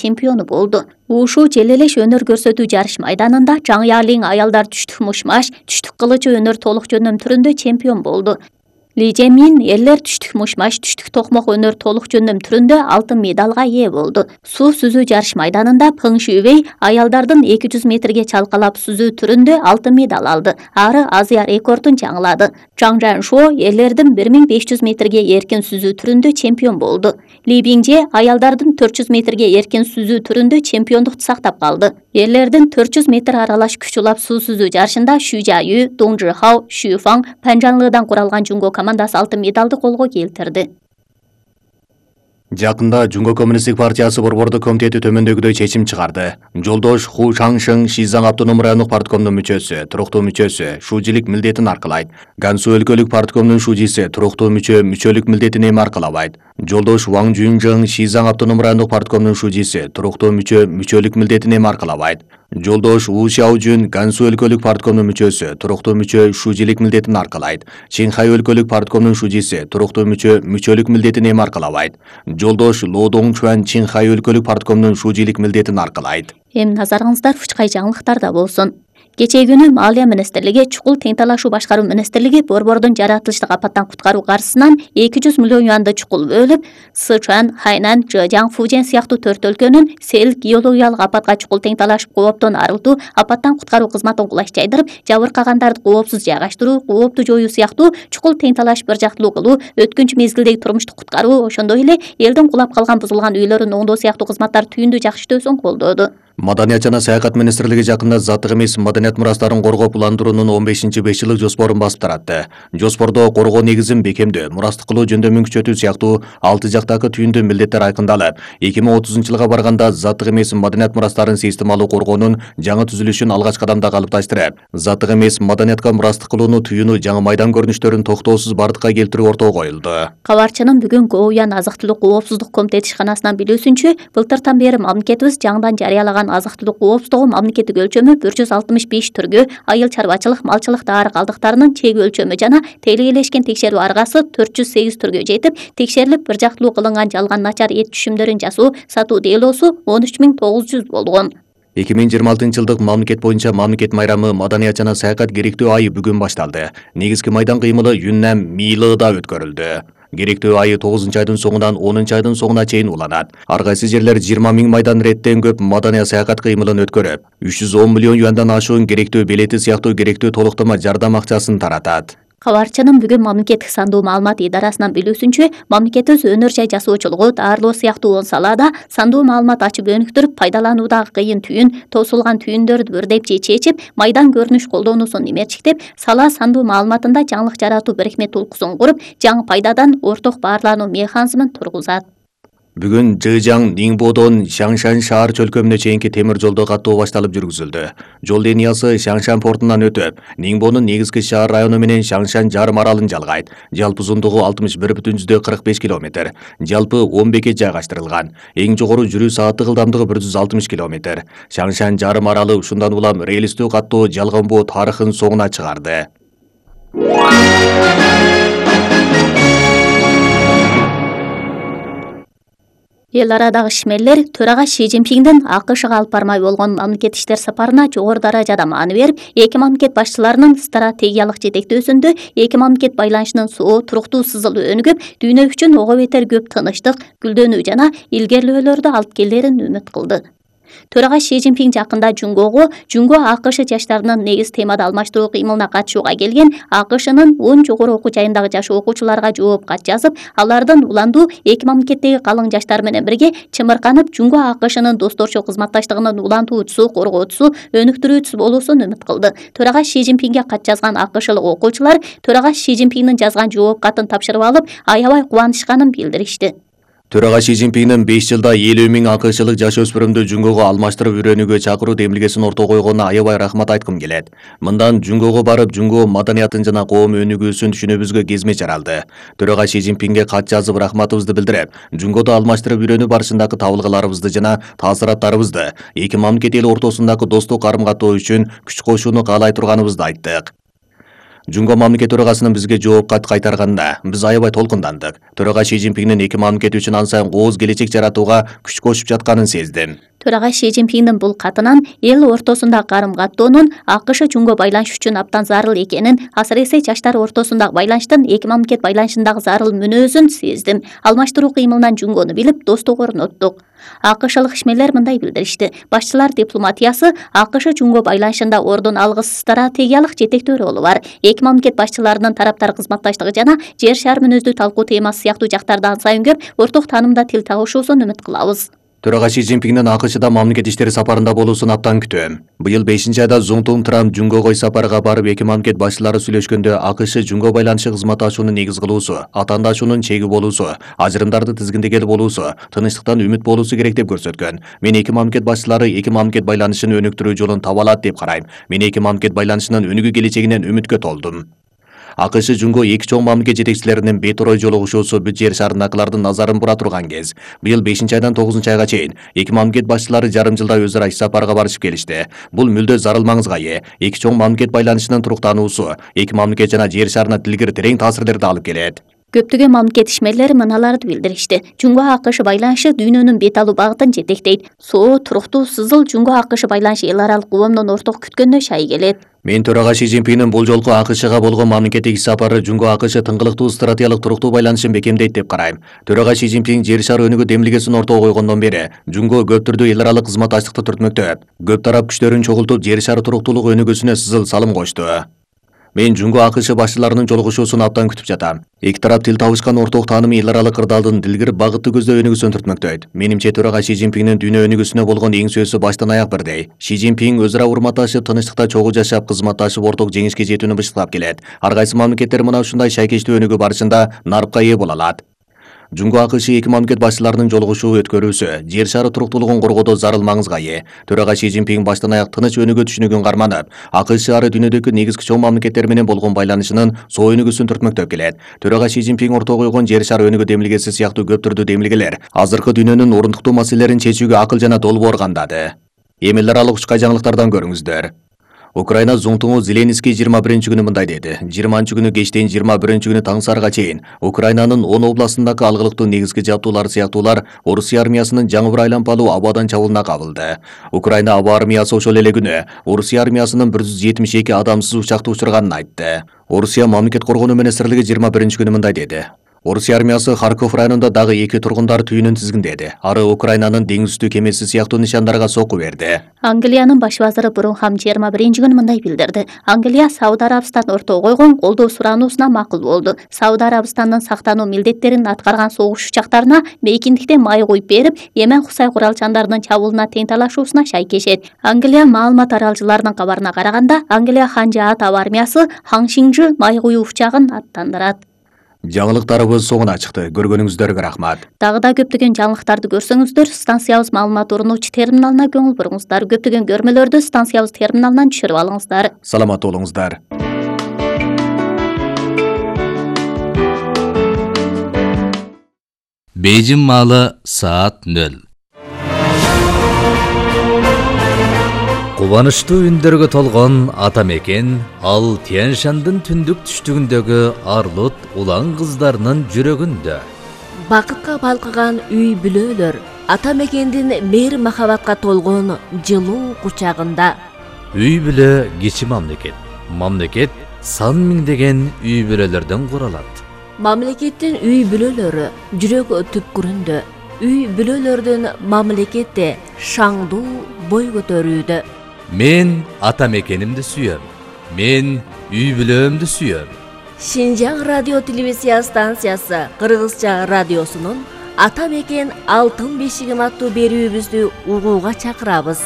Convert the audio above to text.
чемпиону болду. Ушу желелеш өнөр көрсөтүү жарыш майданында Жаң Ялин аялдар түштүк мушмаш, түштүк кылычы өнөр толук жөнөм түрүндө чемпион болду. Ли Жемин эрлер түштүк мушмаш, түштүк токмок өнөр толук жөнөм түрүндө алтын медалга ээ болду. Суу сүзүү жарыш майданында Пың Шүйбей аялдардын 200 метрге чалкалап сүзүү түрүндө алтын медаль алды. Ары Азия рекордун жаңылады. Чжан Жаншо эрлердин 1500 метрге эркин сүзүү түрүндө чемпион болду. Ли Биңже аялдардын 400 метрге эркин сүзүү түрүндө чемпиондукту сактап калды. Эрлердин 400 метр аралаш күч улап суу сүзүү жарышында Шу Жаю, Дong Зhihao, Шу Фаң, Панжанлыдан куралган Жунго командасы алтын медалды колго келтирди. Жакында Жунго Коммунисттик партиясы борбордук комитети төмөндөгүдөй чечим чыгарды. Жолдош Ху Шаңшың Шизаң автономдук райондук парткомдун мүчөсү, туруктуу мүчөсү, шуужилик милдетин аркылайт. Гансу өлкөлүк парткомдун шуужиси туруктуу мүчөлүк милдетин эми аркылабайт. Жолдош Ваң Жунжың Шизаң автономдук райондук парткомдун шуужиси туруктуу мүчөлүк милдетин эми аркылабайт. Жолдош У Шаожун Гансу өлкөлүк парткомдун мүчөсү, туруктуу шуужилик милдетин аркылайт. Чинхай өлкөлүк парткомдун шуужиси туруктуу мүчөлүк милдетин эми аркылабайт. Жолдош Ло Доңчуан Чинхай өлкөлүк парткомдун шуужилик милдетин аркылайт. Эми назарыңыздар Фучкай жаңылыктарда болсун. Кечээ күнү Малия министрлиги, чукул тең талашуу башкаруу министрлиги борбордун жаратылыштык апаттан куткаруу каржысынан 200 миллион юанды чукул бөлүп, Сычуан, Хайнан, Жэжяң, Фужен сыяктуу 4 өлкөнүн сел геологиялык апатка чукул тең талашып кооптон арылтуу, апаттан куткаруу кызматын кулаш жайдырып, жабыркагандарды коопсуз жайгаштыруу, коопту жоюу сыяктуу чукул тең талашып бир жактылуу кылуу, өткүнчү мезгилдеги турмуштук куткаруу, ошондой эле элдин кулап калган бузулган үйлөрүн оңдоо сыяктуу кызматтар түйүндүү жакшы иштөөсүн колдоду. Маданият жана саякат министрлиги жакында заттык эмес маданият мурастарын коргоп уландыруунун 15-5 жылдык жоспорун басып таратты. Жоспордо коргоо негизин бекемдөө, мурастык кылуу жөндөмүн күчөтүү сыяктуу 6 жактагы түйүндүү милдеттер айкындалып, 2030-жылга барганда заттык эмес маданият мурастарын системалуу коргоонун жаңы түзүлүшүн алгач кадамда калыпташтырып, заттык эмес маданиятка мурастык кылууну түйүүнү жаңы майдан көрүнүштөрүн токтоосуз бардыкка келтирүү ортого коюлду. Кабарчынын бүгүн Гоуян азык-түлүк коопсуздук комитети ишканасынан билүүсүнчө, былтыртан бери мамлекетибиз жаңыдан жарыялаган азык-түлүк коопсуздугу мамлекеттик өлчөмү 165 түргө айыл чарбачылык, малчылык дары калдыктарынын чек өлчөмү жана тейлегелешкен текшерүү аргасы 408 түргө жетип, текшерилип бир жактылуу кылынган жалган начар эт түшүмдөрүн жасоо, сатуу делоосу 13900 болгон. 2026-жылдык мамлекет боюнча мамлекет майрамы маданият жана саякат керектүү айы бүгүн башталды. Негизги майдан кыймылы Юннам Милыда өткөрүлдү. Керектүү айы 9-айдын соңунан 10-айдын соңуна чейин уланат. Ар кайсы жерлер 20 000 майдан реттен көп маданият саякат кыймылын өткөрүп, 310 миллион юандан ашуун керектүү билети сыяктуу керектүү толуктама жардам акчасын таратат. Кабарчынын бүгүн мамлекеттик сандуу маалымат идарасынан билүүсүнчө, мамлекетибиз өнөр жай жасоочулугу, даарылоо сыяктуу 10 салаада сандуу маалымат ачып өнүктүрүп, пайдалануудагы кыйын түйүн, тосулган түйүндөрдү бірдеп чечип, майдан көрүнүш колдонуусун имерчиктеп, сала сандуу маалыматында жаңылык жаратуу бирикме толкусун куруп, жаңы пайдадан орток баарлануу механизмин тургузат. Бүгүн Жэжяң Нingбодон Шаңшан шаар чөлкөмүнө чейинки темир жолдо каттоо башталып жүргүзүлдү. Жол линиясы Шаңшан портунан өтүп, Нingбонун негизги шаар району менен Шаңшан жарым аралын жалгайт. Жалпы узундугу 61,45 км. Жалпы 10 бекет жайгаштырылган. Эң жогору жүрүү сааттык ылдамдыгы 160 км. Шаңшан жарым аралы ушундан улам релистүү каттоо жалганбоо тарыхын соңуна чыгарды. Эл арадагы ишмерлер төрага Ши Цзиньпиңдин АКШга алып бармай болгон мамлекет иштер сапарына жогору даражада маани берип, эки мамлекет башчыларынын стратегиялык жетектөөсүндө эки мамлекет байланышынын соо, туруктуу сызылуу өнүгүп, дүйнө үчүн ого бетер көп тынычтык, гүлдөнүү жана илгерилөөлөрдү алып келерин үмүт кылды. Төрага Ши Цзиньпиң жакында Жунго АКШ жаштарынын негиз темада алмаштыруу кыймылына катышууга келген АКШнын 10 жогору окуу жайындагы жаш окуучуларга жооп кат жазып, алардын уландуу эки мамлекеттеги калың жаштар менен бирге чымырканып, Жунго АКШнын досторчу кызматташтыгынын улантуучусу, коргоочусу, өнүктүрүүчүсү болуусун үмүт кылды. Төрага Ши Цзиньпиңге кат жазган АКШлык окуучулар төрага Ши Цзиньпиңдин жазган жооп катын тапшырып алып, аябай кубанышканын билдиришти. Төрага Ши Цзиньпиңдин 5 жылда 50 000 АКШлык жаш өспүрүмдү Жунгого алмаштырып үйрөнүүгө чакыруу демилгесин ортого койгонуна аябай рахмат айткым келет. Мындан Жунгого барып, Жунго маданиятын жана коом өнүгүүсүн түшүнүүбүзгө кезме жаралды. Төрага Ши Цзиньпиңге кат жазып рахматыбызды билдирип, Жунгодо алмаштырып үйрөнүү барышындагы табылгаларыбызды жана таасираттарыбызды, эки мамлекет эл ортосундагы достук карым-каттоо үчүн күч кошууну каалай турганыбызды айттык. Жунго мамлекет төрагасынын бизге жооп кат кайтарганына биз аябай толкундандык. Төрага Ши Цзиньпиндин эки мамлекет үчүн ан сайын кооз келечек жаратууга күч кошуп жатканын сездим. Төрага Ши Цзиньпиндин бул катынан эл ортосундагы карым-каттоонун АКШ Жунго байланыш үчүн абдан зарыл экенин, асыресе жаштар ортосундагы байланыштын эки мамлекет байланышындагы зарыл мүнөзүн сездим. Алмаштыруу кыймылынан Жунгону билип, достук орноттук. АКШлык ишмерлер мындай билдиришти. Башчылар дипломатиясы АКШ Жунго байланышында ордун алгыс стратегиялык жетектөө ролу бар. Эки мамлекет башчыларынын тараптар кызматташтыгы жана жер шаар мүнөздүү талкуу темасы сыяктуу жактардан сайын көп орток таанымда тил табышуусун үмүт кылабыз. Төрага Ши Цзиньпиндин АКШда мамлекет иштери сапарында болуусун абдан күтөм. Быйыл 5-айда Зуңтун Трамп Жунгого сапарга барып эки мамлекет башчылары сүйлөшкөндө АКШ Жунго байланышы кызматташууну негиз кылуусу, атаандашуунун чеги болуусу, ажырымдарды тизгиндегел болуусу, тынычтыктан үмүт болуусу керек деп көрсөткөн. Мен эки мамлекет башчылары эки мамлекет байланышын өнүктүрүү жолун таба алат деп карайм. Мен эки мамлекет байланышынын өнүгүү келечегинен үмүткө толдум. АКШ Жунго эки чоң мамлекет жетекчилеринин бет-орой жолугушуусу бүт жер шаарындагылардын назарын бура турган кез. Быйыл 5-айдан 9-айга чейин эки мамлекет башчылары жарым жылда өз ара иш сапарга барышып келишти. Бул мүлдө зарыл маңызга ээ. Эки чоң мамлекет байланышынын туруктануусу эки мамлекет жана жер шаарына тилгер терең таасирлерди алып келет. Көптөгөн мамлекет ишмерлери мыналарды билдиришти. Жунго АКШ байланышы дүйнөнүн бет алуу багытын жетектейт. Соо, туруктуу, сызыл Жунго АКШ байланышы эл аралык коомдун орток күткөнүнө шай келет. Мен төрага Ши Цзиньпиндин бул жолку АКШга болгон мамлекеттик иш сапары Жунго АКШ тыңгылыктуу стратегиялык туруктуу байланышын бекемдейт деп карайм. Төрага Ши Цзиньпин жер шаар өнүгүү демилгесин ортого койгондон бери Жунго көп түрдүү эл аралык кызматташтыкты түртмөктөп, көп тарап күчтөрүн чогултуп жер шаар туруктуулугу өнүгүүсүнө сызыл салым кошту. Мен Жунго АКШ башчыларынын жолугушуусун абдан күтүп жатам. Эки тарап тил табышкан орток таанымы эл аралык кырдаалдын дилгир багытты көздөй өнүгүүсүн түртмөктөйт. Менимче төрага Ши Цзиньпиндин дүйнө өнүгүүсүнө болгон эң сөзү баштан аяк бирдей. Ши Цзиньпин өз ара урматташып, тынычтыкта чогуу жашап, кызматташып орток жеңишке жетүүнү бышыктап келет. Ар кайсы мамлекеттер мына ушундай шайкечтүү өнүгүү барышында нарыпка ээ боло алат. Жунго АКШ эки мамлекет башчыларынын жолугушуу өткөрүүсү жер шары туруктуулугун коргоодо зарыл маңызга ээ. Төрага Ши Цзиньпин баштан аяк тыныч өнүгүү түшүнүгүн карманып, АКШ ары дүйнөдөгү негизги чоң мамлекеттер менен болгон байланышынын соо өнүгүүсүн түртмөктөп келет. Төрага Ши Цзиньпин ортого койгон жер шары өнүгүү демилгеси сыяктуу көп түрдүү демилгелер азыркы дүйнөнүн орундуктуу маселелерин чечүүгө акыл жана долбоор кандады. Эми эл аралык учкай жаңылыктардан көрүңүздөр. Украина Зуңтуңу Зеленский 21-күнү мындай деди. 20-күнү кечтен 21-күнү таң сарга чейин Украинанын 10 областындагы алгылыктуу негизги жабдуулар сыяктуулар Орусия армиясынын жаңы бир айланпалуу абадан чабуулуна кабылды. Украина аба армиясы ошол эле күнү Орусия армиясынын 172 адамсыз учакты учурганын айтты. Орусия мамлекет коргонуу министрлиги 21-күнү мындай деди. Орусия армиясы Харьков районунда дагы 2 тургундар түйүнүн тизгиндеди. Ары Украинанын деңиз үстү кемеси сыяктуу нишандарга сокку берди. Англиянын баш вазыры Брунхам 21-күнү мындай билдирди. Англия Сауд Арабистан ортого койгон колдоо сурануусуна макул болду. Сауд Арабистандын сактануу милдеттерин аткарган согуш учактарына мейкиндиктен май куюп берип, Йемен Хусай куралчандарынын чабуулуна тең талашуусуна шайкешет. Англия маалымат аралчыларынын кабарына караганда, Англия Ханжаат аба армиясы Хаңшиңжи май куюу учагын аттандырат. Жаңылыктарыбыз соңуна чыкты. Көргөнүңүздөргө рахмат. Дагы да көптөгөн жаңылыктарды көрсөңүздөр, станциябыз маалымат орунуучу терминалына көңүл буруңуздар. Көптөгөн көрмөлөрдү станциябыз терминалынан түшүрүп алыңыздар. Саламат болуңуздар. Бейжин маалы саат 0. Кубанычтуу үндөргө толгон ата мекен ал Тянь-Шандын түндүк түштүгүндөгү арлут улан кыздарынын жүрөгүндө. Бакытка балкыган үй бүлөлөр ата мекендин мейир махабатка толгон жылуу кучагында. Үй бүлө кичи мамлекет. Мамлекет сан миңдеген үй бүлөлөрдөн куралат. Мамлекеттин үй бүлөлөрү жүрөк түпкүрүндө. Үй бүлөлөрдүн мамлекетте шаңдуу бой көтөрүүдө. Мен ата мекенимди сүйөм. Мен үй бүлөмдү сүйөм. Шинжаң радио телевизия станциясы Кыргызча радиосунун ата мекен алтын бешигим аттуу берүүбүздү угууга чакырабыз.